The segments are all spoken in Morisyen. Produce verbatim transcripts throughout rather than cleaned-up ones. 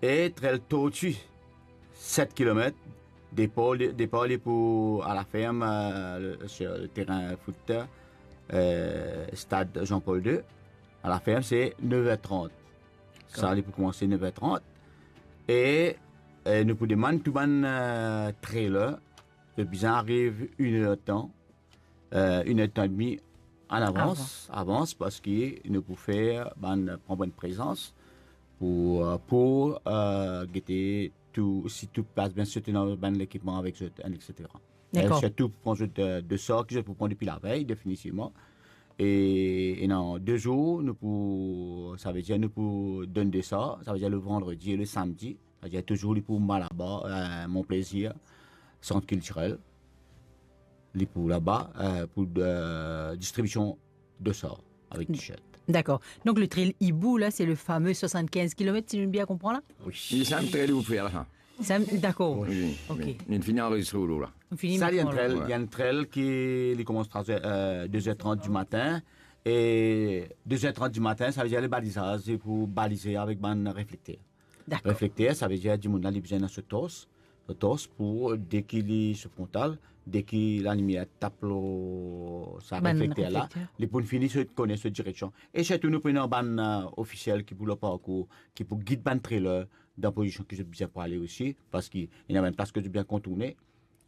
E trail Tortue, set kilomet, depar, depar li pou a la ferm, euh, le, sur le terrain foot, euh, stad Jean-Paul deux. A la ferm, se nef er trant. Sa, li pou koumans nef er trant. E, e nou pou demann tou bann, euh, trailer, zot bizin ariv enn er tan, euh, enn er tan edmi an avans, avans, parski nou pou fer bann, pran bann prezans pou, euh, pou, euh, gete tou, si tou pas bien, sirtou dan bann lekipman avek zot, et cetera. Dakor. E sirtou pou pran zot, euh, desar ki zot pou pran depi lavey, definitivman. E, e dan de zour, nou pou, savedir nou pou donn desar, savedir le vandredi e le samdi, savedir touzour li pou Malaba, euh, Mon Plaisir, sant kiltirel. Li pou laba, euh, pou, euh, distribision desar avek t-shirt. Dakor. Donk le trail Hibou la, se le fame swasannkinz kilomet, si nou bien konpran la? Wi. Li sa enn trail ou fer la, sa. Sa, dakor. Wi, wi. Ok. Li fini anrezistre ou la. Fini. Sa, li enn trail, wi, li enn trail ki, li koumans trwa er, euh, de er trant di matin, e de er trant di matin, savedir le balizaz, se pou balize avek bann reflekter. Dakor. Reflekter, savedir dimoun la, li bizin dan so tors, so tors pou, deki li so frontal, deki lalimier tap lor sa reflekter la, li pou fini so, kone so direksion. E sirtou nou pou ena bann, euh, ofisiel ki pou lor parkour, ki pou gid bann trailer dan pozision ki zot bizin pou ale osi, parski ena bann plas ki zot bizin kontourne,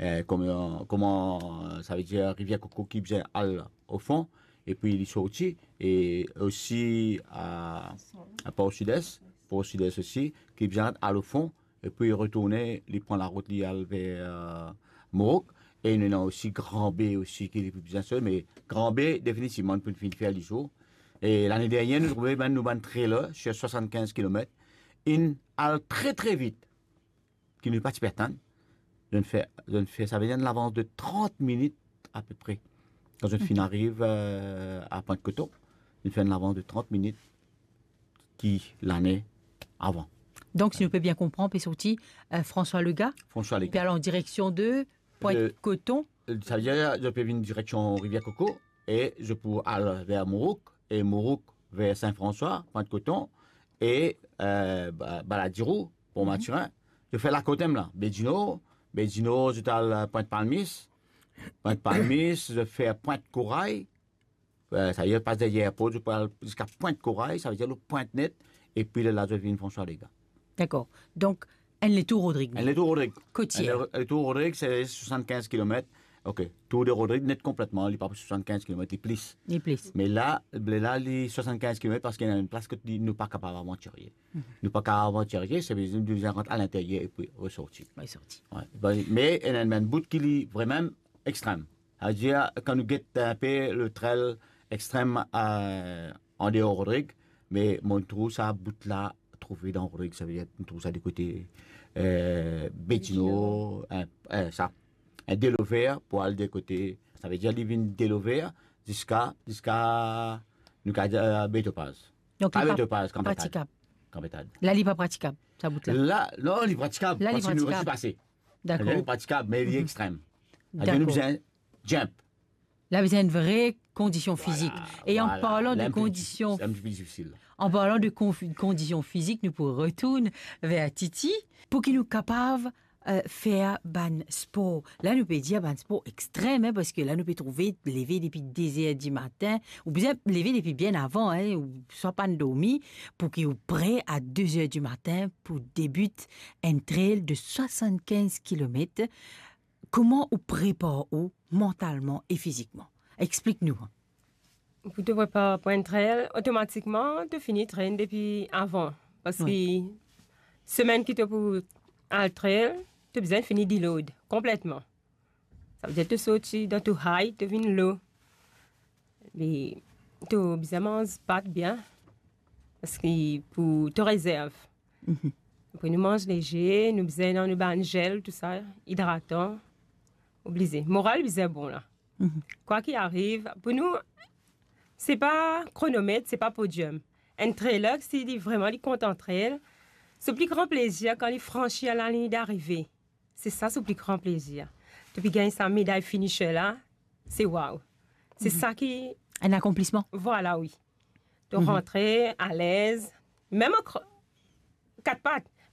euh, kouma, kouma, euh, savedir Rivier Coco ki bizin al o fon, epi li sorti, e osi a, a Port Sud-Est, Port Sud-Est osi, ki bizin al o fon, epi retourne, li pran larout, li al ver, euh, Mourouk, e nou ena osi Grand Baie osi ki li pou bizin sot, me Grand Baie, definitivman, pou finn fer lizour. E lane dernie, nou trouve bann, nou bann trailer, sir swasannkinz kilomet, inn al tre, tre vit. Ki nou pa ti pe atann. Zot fer, zot fer, savedir enn lavans de trant minit apepre. Kan zot finn ariv, euh, a Pwint Koton, zot fer enn lavans de trant minit ki lane avan. Donk, si nou pe bien konpran, pe sorti, euh, François Legas, François Legas, epi al an direksion de Pwint Koton. Euh, savedir, zot pe vinn direksion Rivier Coco, e zot pou al ver Mourouk, e Mourouk ver Saint-François, Pwint Koton, e, euh, Ba-, Baladiro, Port Mathurin. Zot fer lakote mem la, Baie du Nord, Baie du Nord, zot al, euh, Pwint Palmis, Pwint Palmis, zot fer Pwint Koray, euh, savedir pas deryer airport, zot pou al ziska Pwint Koray, savedir lor pwint net, epi lerla zot vinn François Legas. Dakor. Donk, enn letour Rodrig. Enn letour Rodrig. Kotie. Enn le-, letour Rodrig, se swasannkinz kilomet. Ok, Tour de Rodrig net konpletman, li pa swasannkinz kilomet, li plis. Li plis. Me la, la, li swasannkinz kilomet parski ena enn plas kot li, nou pa kapav avantirye. Nou pa kapav avantirye, se bizin, bizin rant alinteryer epi resorti. Resorti. Wi. Bon, me ena enn bout ki li vremem extrem. Savedir, kan nou get enpe le trail extrem, euh, andeor Rodrig, me mo trouv sa bout la trouve dan Rodrig, savedir mo trouv sa de kote, euh, Baie du Nord, euh, euh, sa, euh, Delover pou al de kote, savedir li vinn Delover ziska, ziska nou kapav dir, euh, Baie Topaz. Donk, pa li pa Baie Topaz, Camp Béthald. Pratikab. Camp Béthald. La, li pa pratikab, sa bout la. La, non, li pratikab. La, li pratikab. Parski nou resi pase. Dakor. La, li pratikab, me li extrem. Dakor. Nou bizin jump. La bizin enn vre kondision fizik. Vwala, vwala. E an parlan de kondision, enn ti pe difisil. An parlan de konf-, kondision fizik, nou pou retourn ver Titi pou ki nou kapav, euh, fer bann spor. La, nou pe dir bann spor extrem, hein, parski la, nou pe trouve leve depi de zer di matin, ou bizin leve depi bien avan, hein, ou swa pann dormi, pou ki ou pre a de zer di matin pou debit enn trail de swasannkinz kilomet. Kouma ou prepar ou mantalman e fizikman? Explik nou. Pou to prepar pou enn trail, otomatikman, to fini trenn depi avan. Parski semenn ki to pou al trail, to bizin fini deload konpletman. Savedir to sorti dan to high, to vinn low. Me to bizin manz pat bien, parski pou to rezerv. Apre nou manz leger, nou bizin dan nou bann zel, tou sa, idratan, oblize. Moral bizin bon la. Kwa ki ariv, pou nou, se pa kronomet, se pa podium. Enn trailer, si li vreman li kontan trail, so pli gran plezir kan li fransi lalign darive. Se sa so pli gran plezir. To pe gagn sa meday finisher la, se wow. Se sa ki... Enn akonplisman. Vwala, wi. To rantre alez, mem an kr-, kat pat.